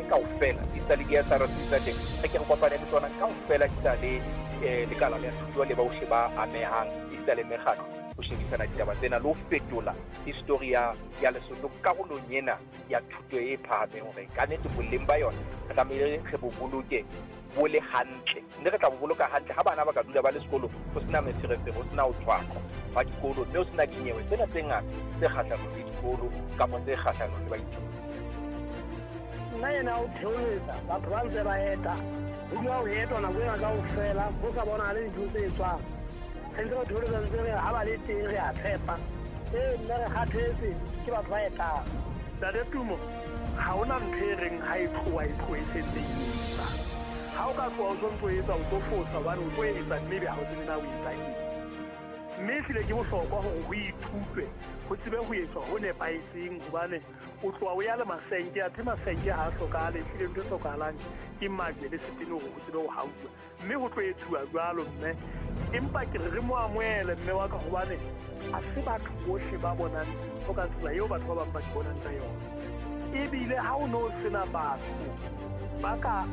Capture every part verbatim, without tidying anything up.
kopane kaofela, esita le di-S R C tsa teng, re ke re kopane le tsona kaofela, esita le eh, lekala la thuto le bohle ba amehang, esita le mekgatlo, ho shebisana ditaba tsena le ho fetola histori ya, ya Lesotho karolong ena ya thuto e phahameng, hore ka nnete boleng ba yona re tlamehile re bo boloke bo le hantle, mme re tla bo boloka hantle ha bana ba ka dula ba le sekolo, ho sena meferefere, ho sena ho tshwaqwa ba dikolo, mme ho sena dinyewe tsena tse ngata tse kgahlanong le dikolo kapa tse kgahlanong le baithuti. Nna ena o theoletsa batho ba ntse ba eta, ho dula ho etwa nako ena kaofela, ho sa bonahale dintho tse etswang. Re ntse re theoletsa ntse re ha ba le teng re a tshepa. Ee, nna re kgathetse ke batho ba etang. Ntate Tumo, ha hona ntho e reng ha e tloha e tlohe e sentse e etsa. Ha o ka tloha o sontso o etsa, o tlo fosa hobane o tlo etsa mme ebe ha o tsebe na o etsa eng. Mme ehlile ke bohlokwa hore ho ithutwe, ho tsebe ho etswa ho nepahetseng, hobane o tloha o ya le masenke, athe masenke ha a hlokahale, ehlile ntho e hlokahalang ke majwe le setene hore ho tsebe ho hauwa. Mme ho tlo etsuwa jwalo mme, empa ke re re mo amohele mme wa ka, hobane ha se batho bohle ba bonang dintho ka tsela eo batho ba bang ba di bonang ka yona. Ebile ha o no sena batho ba ka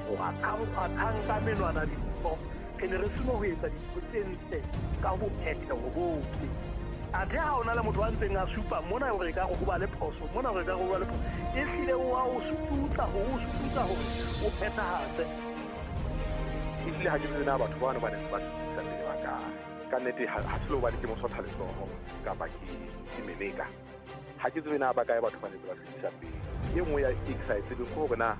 kgwathang ka menwana dintho, re ne re seno ho etsa dintho tse ntle ka bophetheho bohle. Athe ha o na le motho a ntseng a supa mona hore ekare ho ba le phoso, mona hore ekare ho ba le phoso, ehlile o a o sututsa hore o sututsa hore o phethahatse. Ehlile ha ke tsebe na batho bano ba ne ba sututsa pele ba kae. Ka nnete ha, ha se le hobane ke mosotha letsoho kapa ke, ke meleka. Ha ke tsebe na ba kae batho ba ne ba sututsa pele. E nngwe ya e ke sa e tsebeng ke hore na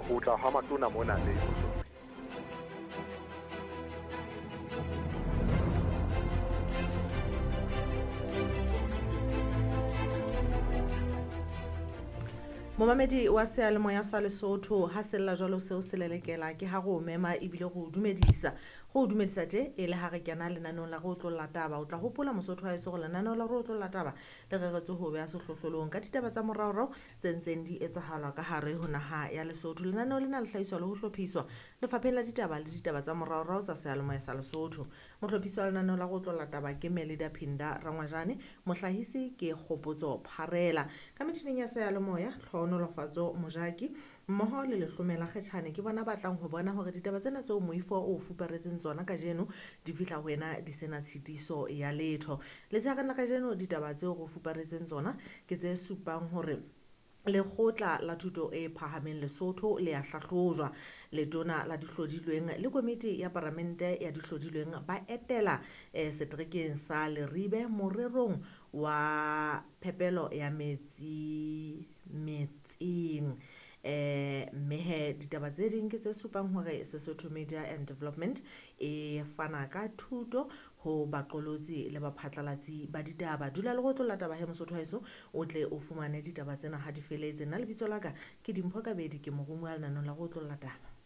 ho tla ha matona mona le Momamedi wa seyalemoya sa Lesotho, ha sella jwalo seo se lelekela ke ha re o mema ebile re o dumedisa. Re o dumedisa tje e le ha re kena lenaneong la re otlolla taba. O tla hopola Mosotho wa heso hore lenaneo la re otlolla taba le reretswe ho beha sehlohlolong ka ditaba tsa moraorao tse ntseng di etsahala ka hare ho naha ya Lesotho. Lenaneo lena le hlahiswa le ho hlophiswa Lefapheng la Ditaba le Ditaba tsa Moraorao tsa Seyalemoya sa Lesotho. Mohlophisi wa lenaneo la re otlolla taba ke Melida Phinda Rangwajane, mohlahisi ke Kgopotso Pharela. Ka metjhining ya seyalemoya, Tlhohonolofatso Mojaki mmoho le Lehlomela Kgetjhane ke bona ba tlang ho bona hore ditaba tsena tseo moifo o fuparetseng tsona kajeno di fihla ho wena di sena tshitiso ya letho. Letshehareng la kajeno ditaba tseo re fuparetseng tsona ke tse supang hore Lekgotla la Thuto e Phahameng Lesotho le a hlahlojwa. Letona la dihlodilweng le komiti ya paramente ya dihlodilweng ba etela eh, seterekeng sa Leribe morerong wa phepelo ya metsi metseng. Eh, mme he ditaba tse ding ke tse supang hore Sesotho Media and Development e fana ka thuto ho baqolotsi le baphatlalatsi ba ditaba. Dula le go tlola taba he Mosotho wa heso, o tle o fumane ditaba tsena ha di feletse. Nna lebitso la ka ke Dimpho Kabedi, ke morumuwa lenaneong la go tlola taba.